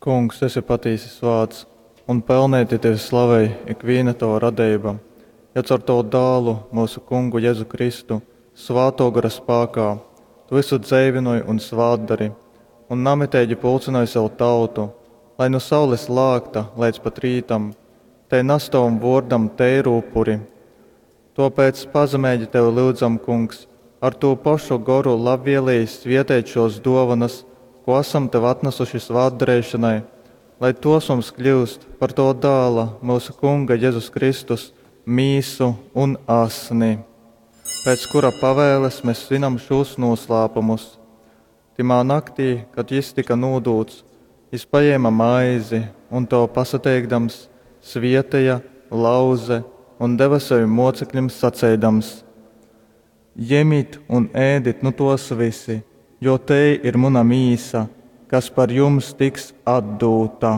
Kungs, esi patīsi svāts, un pelneiti tevi slavej ikvīna tova radeiba, jo caur tovu Dālu, myusu Kungu Jezu Kristu, Svātō Gora spākā tu vysu dzeivynoj un svātdori, un namiteigi pulcynoj sev tautu, lai nu saules lākta leidz pat rītam tei nas tovam vōrdam teiru upuri. Tōpēc pazemeigi tevi lyudzam, Kungs, ar tū pošu Goru labvieleji svieteit šōs dōvonas, kū asam tev atnasuši svātdareišonai, lai tōs mums kļyust par tova Dāla, myusu Kunga Jezus Kristus, mīsu un asni, pēc kura pavēles mes svinam šūs nūslāpumus. Tymā naktī, kad jys tyka nūdūts, jys pajēma maizi un, tov pasateikdams, svieteja, lauze un deva sovim mōceklim, saceidams, Jemit un ēdit nu tōs vysi, jo tei ir muna mīsa, kas par jums tiks atdūta.